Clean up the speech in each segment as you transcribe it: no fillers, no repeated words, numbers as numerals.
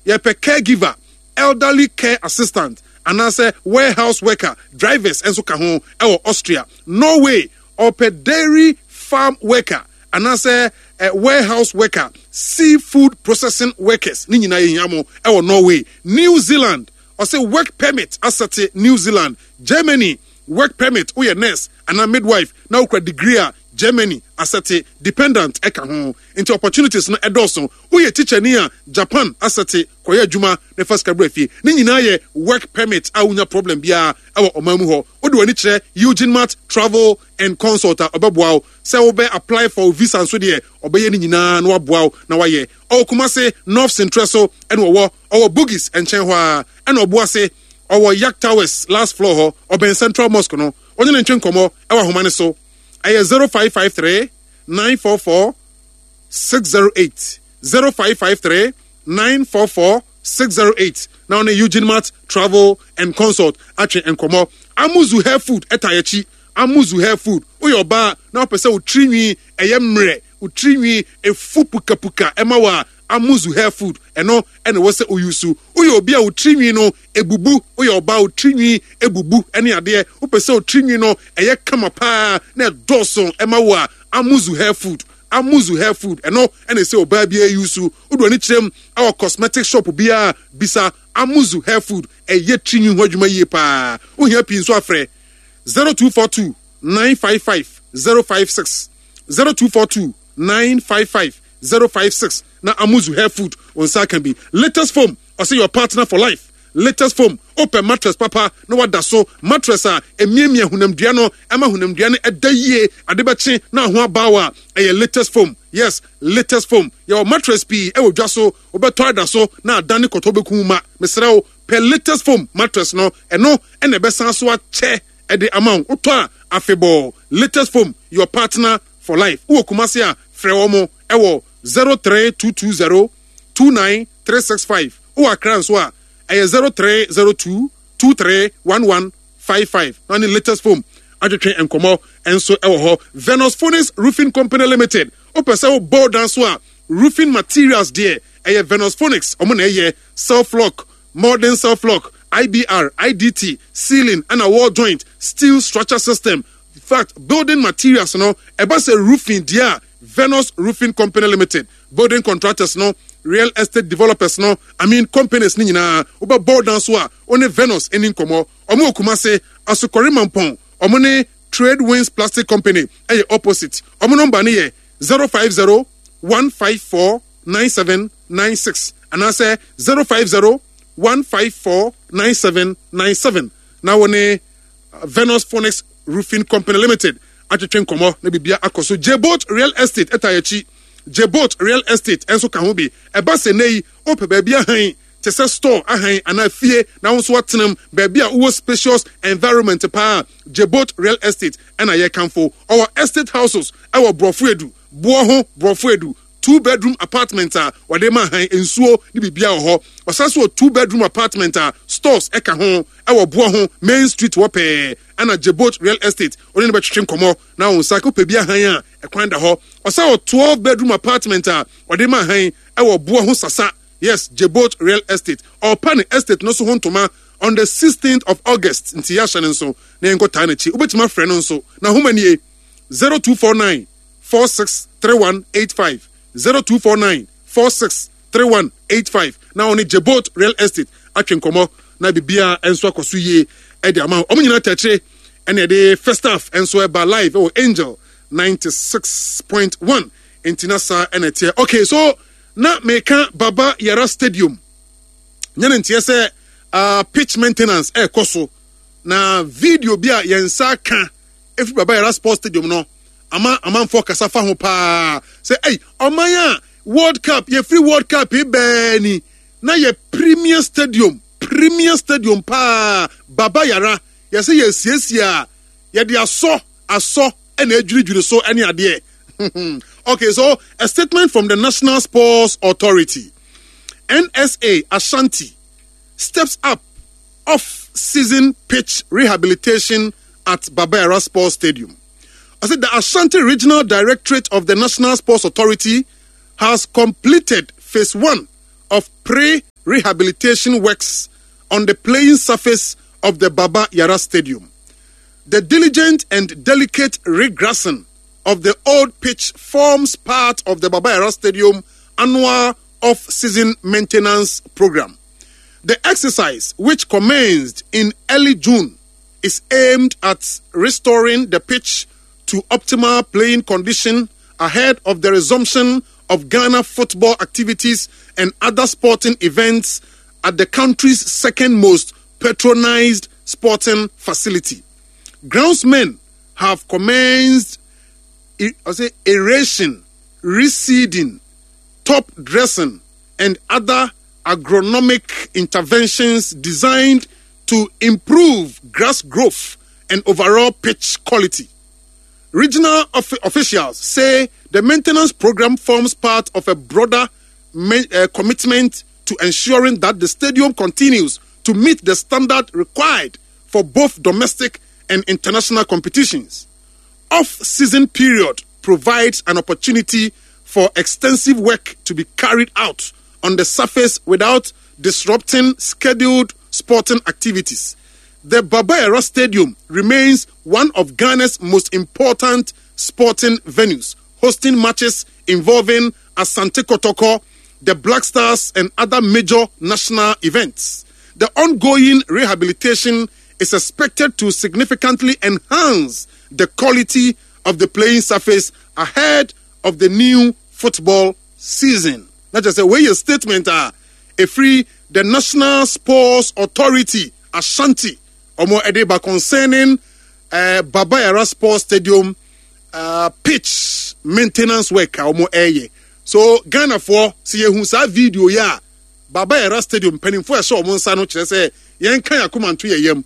Yɛpɛ caregiver, elderly care assistant, anaasɛ warehouse worker, drivers nso ka ho wɔ Austria. Norway, ɔpɛ dairy farm worker anaasɛ warehouse worker, seafood processing workers, ne nyinaa yɛhia mo wɔ Norway. New Zealand, ɔse work permit asɛte New Zealand. Germany, work permit, woyɛ nurse anaa midwife na wokura degree a, Germany asɛte, dependant ka ho. Nti opportunities no ɛdɔɔso. Woyɛ tikyani a, Japan asɛte, kɔyɛ adwuma na fa sika bra fie. Ne nyinaa yɛ work permit a wonnya problem biara wɔ ɔman mu hɔ. Wode w'ani kyerɛ Eugene Mart Travel and Consult a, ɔbɛboa wo. Sɛ wobɛ apply for wo visa nso deɛ, ɔbɛyɛ ne nyinaa na waboa wo na wayɛ. Ɔwɔ Kumasi, North Sentrɛ so na ɔwɔ. Ɔwɔ Bugis nkyɛn hɔ ara ɛna Ɔboase. Ɔwɔ Yak Towers last floor hɔ, ɔbɛn Central Mosque no. Wo ne no ntwe nkɔmmɔ wɔ ahoma no so. Ɛyɛ 0553 944 608, 0553 944 608 na wo ne Eugene Mart Travel and Consult atwe nkɔmmɔ. Amuzu Hair Food ɛta akyi. Amuzu Hair Food. Woyɛ ɔbaa na wopɛ sɛ wo tirinwi ɛyɛ mmerɛ, wo tirinwi efu pukapuka ɛma wo a, Amuzu Hair Food ɛno ɛna ɛwɔ sɛ oyusu. Woyɛ obi a wo tirinwi no ebubu, woyɛ ɔbaa wo tirinwi ebubu ɛne adeɛ, wopɛ sɛ wo tirinwi no ɛyɛ kama paa na ɛdɔɔso ɛma wo a, Amuzu Hair Food. Amuzu Hair Food ɛno ɛna ɛsɛ ɔbaa biara yusu. Wode w'ani kyerɛ mu ɛwɔ cosmetic shop biara bisa Amuzu Hair Food ɛyɛ tirinwi ho adwuma yie paa. Wohia pii nso afrɛ 0242 955 056 0242 955 056 na Amuzu Hair Food wo nsa aka bi. Latest foam ɔsɛ your partner for life. Latest foam wopɛ mattress papa na wada so, mattress a emiamia honamdua no ɛma honamdua no ɛda yie, ade bɛkye na ho abaawa a ɛyɛ latest foam. Yes, latest foam. Yɛwɔ mattress pii ɛwɔ dwa so, wobɛtɔ ada so na adane kɔtɔ bɛku ma. Mesrɛ wo pɛ latest foam mattress no, ɛno ɛna ɛbɛsan so akyɛ ɛde ama wo. Wotɔ a afebɔɔ. Latest foam, your partner for life. Wowɔ Kumasi a, frɛ wɔn ɛwɔ 03220 29365. Wowɔ Accra nso a, ɛyɛ 0302 231155. Na ne latest foam atwetwe nkɔmmɔ nso ɛwɔ hɔ. Venus Phoenix Roofing Company Limited. Wopɛ sɛ wobɔ dan so a, roofing materials deɛ ɛyɛ Venus Phoenix. Ɔmo na ɛyɛ self lock, modern self lock, IBR, IDT, ceiling ɛna wall joint, steel structure system. In fact, building materials no ɛba sɛ roofing deɛ a Venus Roofing Company Limited, building contractors no, real estate developers no, I mean companies no nyinaa, wobɛbɔ dan so a, wo ne Venus ani nkɔmmɔ. Ɔmo wɔ Kumase, Asokɔre Mampɔn, ɔmo ne Trade Winds Plastic Company ɛyɛ opposite. Ɔmo nɔmba no yɛ 050 154 9796 anaasɛ 050 154 9797 na wo ne Venus Phoenix Roofing Company Limited atwetwe nkɔmmɔ na biribia akɔ so. Jebot Real Estate ɛta akyi. Jebot Real Estate nso ka ho bi. Ɛba sɛ nnɛ yi wopɛ baabi ahan te sɛ store ahan anaa fie na wo nso atenam baabi a wowɔ spacious environment paa, Jebot Real Estate ɛna yɛkamfo. Ɔwɔ estate houses ɛwɔ Borɔfo Edu, Boɔ ho Borɔfo Edu, two bedroom apartment a wɔde ma han, nsuo ne biribiara wɔ hɔ. Ɔsan so wɔ two bedroom apartment a stores ɛka ho ɛwɔ Boɔ ho Main Street hɔ pɛɛ. Ɛna Jebot Real Estate ɔne no bɛtwetwe nkɔmmɔ na wo nsa wopɛ bi ahan a ɛkwan da hɔ. Ɔsan wɔ 12 bedroom apartment a ɔde ma han ɛwɔ Boɔ ho Sasa. Yes, Jebot Real Estate. Ɔrepa ne estate no so ho ntoma on the 16th of August nti yɛahyɛ no nso na yɛnkɔtaa n'akyi. Wobɛtumi afrɛ no nso. N'ahoma nie 0249 463185 0249 463185 na ɔne Jebot Real Estate atwe nkɔmmɔ na biribiara nso akɔ so yie de ama wɔn nyinaa tɛkyere ɛna ɛde first half nso ɛba live ɛwɔ Angel 96.1 nti na saa ɛna ɛteɛ. Okay, so na meka Baba Yara Stadium nyɛ ne nteɛ sɛ pitch maintenance ɛrekɔ so na video bi a yɛn nsa ka ɛfiri Baba Yara Sports Stadium no ama amanfoɔ kasa fa ho paa sɛ ei ɔman a World Cup yɛfiri World Cup yi bɛɛ ni na yɛ premier stadium premier stadium paa Baba Yara yɛsɛ yɛsiesie a yɛde asɔ asɔ ɛna adwiridwiri so ɛne adeɛ. Okay, so a statement from the National Sports Authority, NSA Ashanti, steps up off-season pitch rehabilitation at Baba Yara Sports Stadium. I said the Ashanti Regional Directorate of the National Sports Authority has completed phase 1 of pre. rehabilitation works on the playing surface of the Baba Yara Stadium. The diligent and delicate regrassing of the old pitch forms part of the Baba Yara Stadium annual off-season maintenance program. The exercise, which commenced in early June, is aimed at restoring the pitch to optimal playing condition ahead of the resumption of Ghana football activities and other sporting events at the country's second most patronized sporting facility. Groundsmen have commenced I say, aeration, reseeding, top dressing, and other agronomic interventions designed to improve grass growth and overall pitch quality. Regional officials say the maintenance program forms part of a broader commitment to ensuring that the stadium continues to meet the standard required for both domestic and international competitions. Off-season period provides an opportunity for extensive work to be carried out on the surface without disrupting scheduled sporting activities. The Baba Yara Stadium remains one of Ghana's most important sporting venues, hosting matches involving Asante Kotoko, the Black Stars, and other major national events. The ongoing rehabilitation is expected to significantly enhance the quality of the playing surface ahead of the new football season. Na kyerɛ sɛ wei yɛ statement a ɛfiri the National Sports Authority Ashanti wɔn ɛde ba concerning Baba Yara Sports Stadium pitch maintenance work a wɔn ɛreyɛ. So Ghanafoɔ sɛ yɛhu saa video yi a Baba Yara Stadium mpanimfoɔ ɛhyɛ wɔn nsa no kyerɛ sɛ yɛnka yɛn akoma nto yɛn yam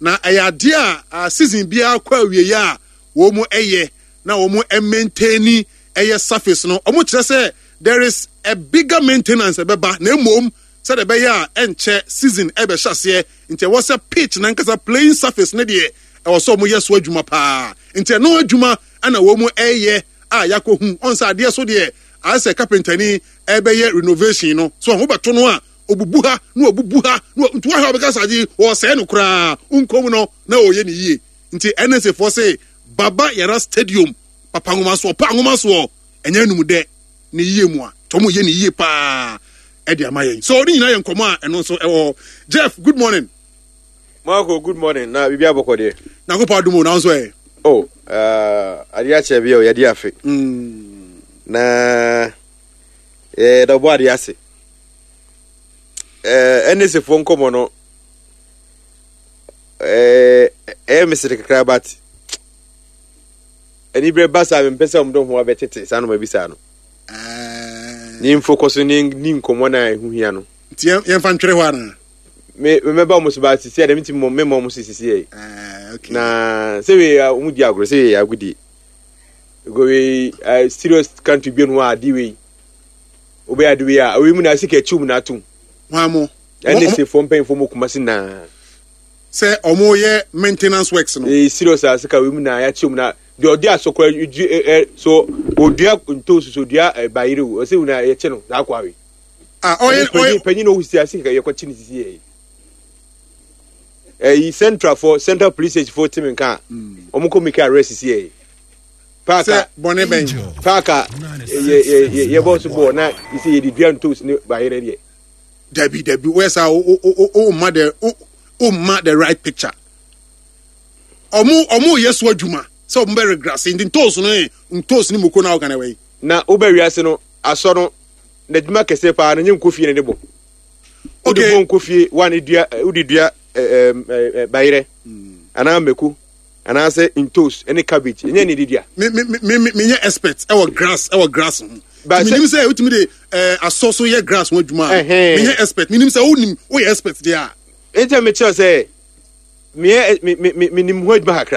na ɛyɛ adeɛ a season biara kɔ awieɛ a wɔn ɛyɛ na wɔn maintaini ɛyɛ surface no. Wɔn kyerɛ sɛ there is a bigger maintenance ɛbɛba na mmom sɛdeɛ ɛbɛyɛ a ɛnkyɛ season ɛbɛhyɛ aseɛ nti ɛwɔ sɛ pitch nankasa playing surface ne deɛ ɛwɔ sɛ wɔn yɛ so adwuma paa nti ɛno adwuma ɛna wɔn ɛyɛ a yakɔhu ɔn sɛ adeɛ so deɛ ayɛ sɛ kapentani ɛbɛyɛ renovation no so ɔho bɛto no a obubu ha na obubu ha na nti wɔhwɛ ɔbɛka sɛ ade wɔsɛe no koraa nkom no na ɔyɛ ne yie nti NSA foɔ se Baba Yara Stadium papa nwoma soɔ pa nwoma soɔ ɛnyɛ anum dɛ ne yie mu a nti wɔn yɛ ne yie paa ɛde ama yɛn so ne nyinaa yɛ nkɔmɔ a ɛno nso ɛwɔ hɔ. Jeff, good morning. Marco, good morning. Na biribi abɔkɔ deɛ. Nyankopɔn adom o, na nso ɛ. Oh, adeɛ akyɛ bi o, yɛde afe. Na yɛda ɔbɔ adeɛ ase. Ɛne sefoɔ nkɔmɔ no, ɛyɛ mesere kakra but aniberɛ ba saa mempɛ sɛ ɔmde ho abɛtete saa noma bi saa no. Ne mfokɔ so ne ni nkɔmmɔ no a ɛho hia no. Nti yɛmfa ntwere hɔ anaa? Me mɛba ɔmo so ba sisi a dɛm nti mo mema ɔmo so sisi yɛ. Na sɛ wei ɔmo di agorɔ sɛ wei yɛ agodie. Go wei serious country bi no a adi wei. Wobɛyɛ ade wei a wei mu na sika akyi mu na atom. Hwan mo? Ɛne sefoɔ mpanyinfoɔ mo Kumasi naa. Sɛ ɔmo yɛ maintenance works no. Ee serious a sika wei mu na yɛakyi mu na deɛ ɔde asɔkora dua ɛ ɛ so odua ntoosi so odua ɛ bayere o ɔsɛ wuna yɛkye no saa akɔ awe. Ah ɔyɛ ɔyɛ panyin na ɔsi ase kɛkɛ yɛkɔ kye ne sisi yɛ. Ɛyi central fo central police station fo timi nka wɔn kɔ make arrest sisi yɛ. Paaka bɔne bɛn. Paaka yɛ yɛ yɛ yɛ bɔ so bɔɔl na yɛ yɛ de dua ntoosi ne bayere deɛ. Dabi dabi wɔyɛ saa o o o ma the o o ma the right picture. Ɔmo ɔmo yɛ so adwuma sɛ ɔmo bɛ regrase nti ntoosi no yɛ ntoosi ne moko na ɔka na ɛwɔ yi. Na wobɛ wiase no asɔ no n'adwuma kɛseɛ paa no nyɛ nkofie na de bɔ. Wode bɔ nkofie wa ne dua wode dua ɛɛ bayerɛ anaa mako anaasɛ ntoos ne cabbage ɛnyɛ ne de dua. Me me me me menyɛ expert ɛwɔ grass ɛwɔ grass ho. Menim sɛ wotumi de ɛɛ asɔ so yɛ grass ho adwuma a. Menyɛ expert menim sɛ wonim woyɛ expert deɛ a. Nti mekyerɛ sɛ meyɛ me me me menim ho adwuma kakra.